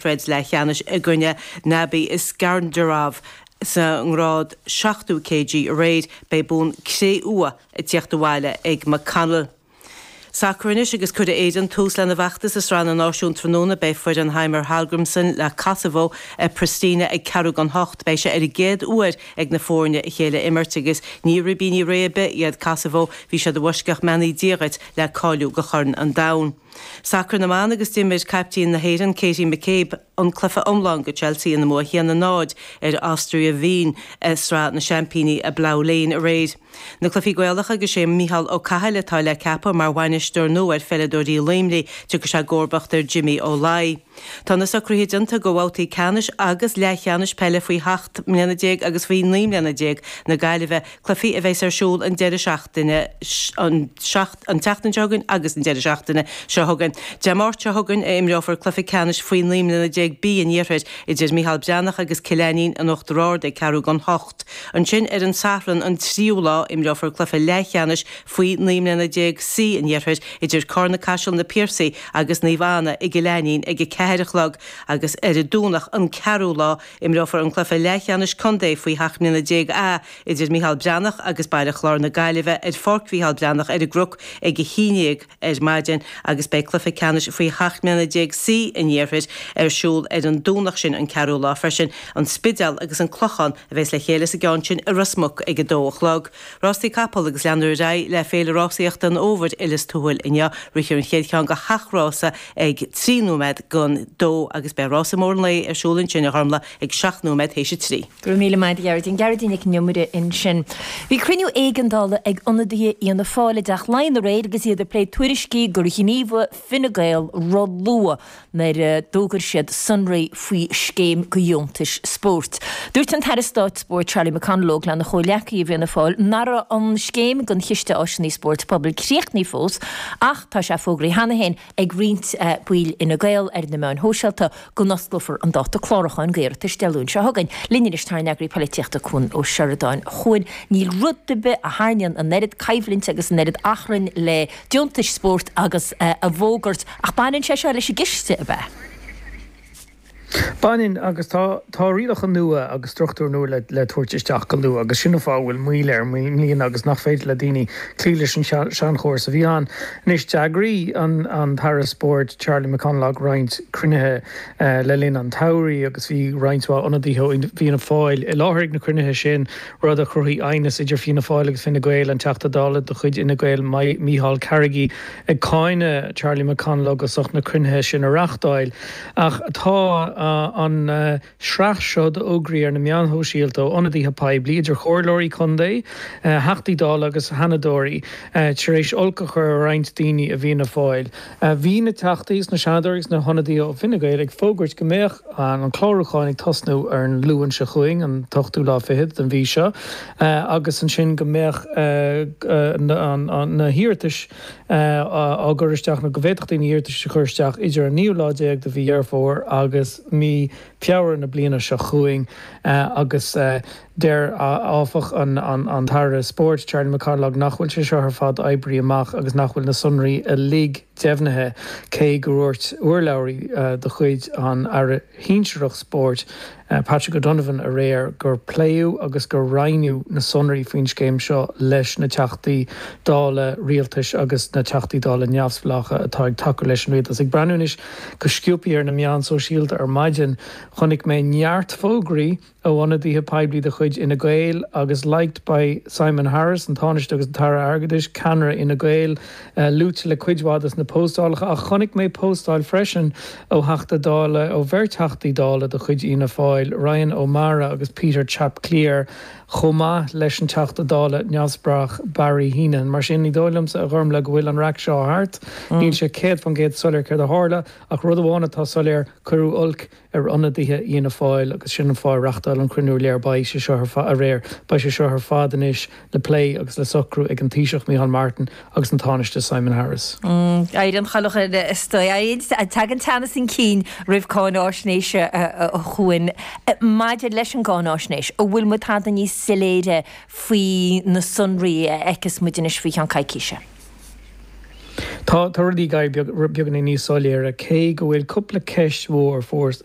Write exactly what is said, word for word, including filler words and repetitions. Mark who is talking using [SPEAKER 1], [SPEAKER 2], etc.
[SPEAKER 1] Troid leathcheannais i gcoinne Nabi Isgandarov sa ngrád seachtó kg aréir beidh bonn cré-umha ag tíocht abhaile ag McConnell. Sacar anois agus cuirfidh Éirinn tús lena bhfeachtas i Sraith na Náisiún tráthnóna beidh foireann Heimir Hallgrímsson le Kosovo i Pristina ag ceathrú don hocht beidh sé ar an gcéad uair ag na foirne a chéile imirt agus ní ribíní réidh ar bith iad Kosovo bhí siad i bhfoisceacht mbeannaí Dia dhuit le cáiliú go Chorn an Domhain. Sacar na mban agus d'imir caiptín na hÉireann Katie McCabe an cluiche iomlán go Chelsea ina mbua a haon a náid ar Austria Wien i Sraith na Seaimpíní i Plough Lane aréir. Na cluichí Gaelacha agus sé Micheál Ó Cathail atá le ceapadh mar bhainisteoir nua ar pheileadóirí Luimnigh tiocfaidh sé i gcomharbacht ar Jimmy Ó Laoi. Tá na socruithe déanta go bhabhtaí ceannais agus leathcheannais peile faoi sheacht mbliana déag agus faoi naoi mbliana déag na Gaillimhe, cluichí a bheas ar siúl an deireadh seachtaine an an tseachtain seo chugainn agus an deireadh seachtaine seo chugainn. Dé Máirt seo chugainn a imreofar cluiche ceannais faoi naoi mbliana déag B an Iarthair idir Micheál Breathnach agus Cill Ainnín in Uachtar Ard ag ceathrú don hocht. Ansin ar an Satharn an tríú lá imreofar cluiche leathcheannais faoi naoi mbliana déag C an Iarthair idir Carna Caiseal na Piarsaigh agus Naomh Anna i gCill Ainnín ag a ceathair a chlog agus ar an Domhnach an ceathrú lá imreofar an cluiche leathcheannais contae faoi sheacht mbliana déag A idir Micheál Breathnach agus Baile Chláir na Gaillimhe ar Pháirc Mhicheál Breathnach ar an gCnoc ag a haon déag ar maidin agus beidh cluiche ceannais faoi sheacht mbliana déag C an Iarthair ar siúl ar an Domhnach sin an ceathrú lá freisin an Spidéal agus an Clochán a bheas le chéile sa gceann sin i Ros Muc ag a dó a chlog. Rásaí capall agus leanfar ar aghaidh le Féile Rásaíochta an Fhómhair i Lios Tuathail inniu rithfear an chéad cheann de sheacht rása ag trí nóiméad don dó agus beidh rása mór an lae ar siúl ansin a Ghormlaith ag seacht nóiméad théis a trí.
[SPEAKER 2] Go raibh míle maith agat Gearóidín Gearóidín Nic an Iomaire ansin. Bhí cruinniú éigeandála ag ionadaithe Fhianna Fáil i dTeach Laighean aréir agus iad ag plé tuairiscí gur ghníomhaigh Fine Gael ró-luath nuair a d'fhógair siad sonraí faoi scéim go dheontais spóirt. Dúirt an tAire Stáit Spóirt Charlie McConalogue lena chomhghleacaithe i bhFianna Fáil nach raibh an scéim don chiste áiseanna spóirt pobail críochnaithe fós ach tá sé fógraithe cheana féin ag roinnt baill Fhine Gael ar na meáin shóisialta go n-osclófar an dáta clárúcháin d'iarratais Dé Luain seo chugainn. Linn anois tá ár n-eagraí polaitíochta Cuan Ó Seireadáin. A Chuain níl rud ar bith a tharraingíonn an oiread coimhlinte agus an oiread achrainn le deontais spóirt agus a bhfógairt ach baineann sé seo leis an gciste ab ea.
[SPEAKER 3] Baineann agus tá tá rialacha nua agus struchtúr nua le le tabhairt isteach go luath agus sin an fáth bhfuil moill air i mbliana agus nach féidir le daoine cloí leis an seanchóras a bhí ann. Anois d'eagraigh an an tAire Spóirt Charlie McConalogue roinnt cruinnithe le linn an tsamhraidh agus bhí roinnt mhaith ionadaithe ó Fhianna Fáil i láthair ag na cruinnithe sin rud a chruthaigh aighneas idir Fianna Fáil agus Fine Gael an Teachta Dála de chuid Fhine Gael Micheál Carrigy ag cáineadh Charlie McConalogue as ucht na cruinnithe sin a reáchtáil ach tá an sraith seo d'fhógraí ar na meáin shóisialta ó ionadaithe poiblí idir chomhairleoirí contae, Theachtaí Dála agus Sheanadóirí tar éis olc a chur ar roinnt daoine i bhFianna Fáil. Bhí na Teachtaí agus na Seanadóirí agus na hionadaithe ó Fine Gael ag fógairt go mbeadh an clárúchán ag tosnú ar an Luan seo chugainn, an t-ochtú lá fichead den mhí seo, agus ansin go mbeadh na hiarratais á gcur isteach nó go bhféadfadh daoine iarratais a chur isteach idir an naoú lá déag de mhí Dheireadh Fómhair agus mí Feabhra na bliana seo chugainn agus deir áfach an tAire Spóirt Charlie McConalogue nach bhfuil sé seo ar fad oibrithe amach agus nach bhfuil na sonraí uilig deimhnithe cé go ndúirt urlabhraí de chuid an Aire Shinsearach Spóirt Patrick O'Donovan aréir gur pléadh agus gur roinneadh na sonraí faoin scéim seo leis na Teachtaí Dála rialtais agus na Teachtaí Dála neamhspleácha atá ag tacú leis an rialtas. Ag breathnú anois go sciobtha ar na meáin sóisialta ar maidin, chonaic mé neart fógraí ó ionadaithe poiblí de chuid Fhine Gael agus liked by Simon Harris, an Tánaiste agus an tAire Airgeadais, ceannaire Fhine Gael, luaite le cuid mhaith de na postálacha ach chonaic mé postáil freisin ó Theachta Dála ó bheirt Theachtaí Dála de chuid Fhianna Fáil, Ryan O'Meara agus Peter Chap Cleere, chomh maith leis an Teachta Dála neamhspleách Barry Heneghan. Mar sin ní dóigh liomsa a Ghormlaith go bhfuil an raic seo thart. Níl sé céad faoin gcéad soiléir céard a tharla ach rud amháin atá soiléir cuireadh olc ar ionadaithe Fhianna Fáil agus sin an fáth ar reáchtáil an cruinniú léir beidh sé seo aréir beidh sé seo ar fad anois le plé agus le socrú ag an Taoiseach Micheál Martin agus an Tánaiste Simon Harris.
[SPEAKER 2] Éiríonn chailleach ar Tagann teannas an cinn roimh cáináisnéis a Chuain maidir leis an gcáináisnéis, an bhfuil muid tada níos soiléire faoi na sonraí a fheicfeas muid anois faoi cheann coicíse.
[SPEAKER 3] Tá tá rudaí ag éirí beagáinín níos soiléire, cé go bhfuil cúpla ceist mhór fós.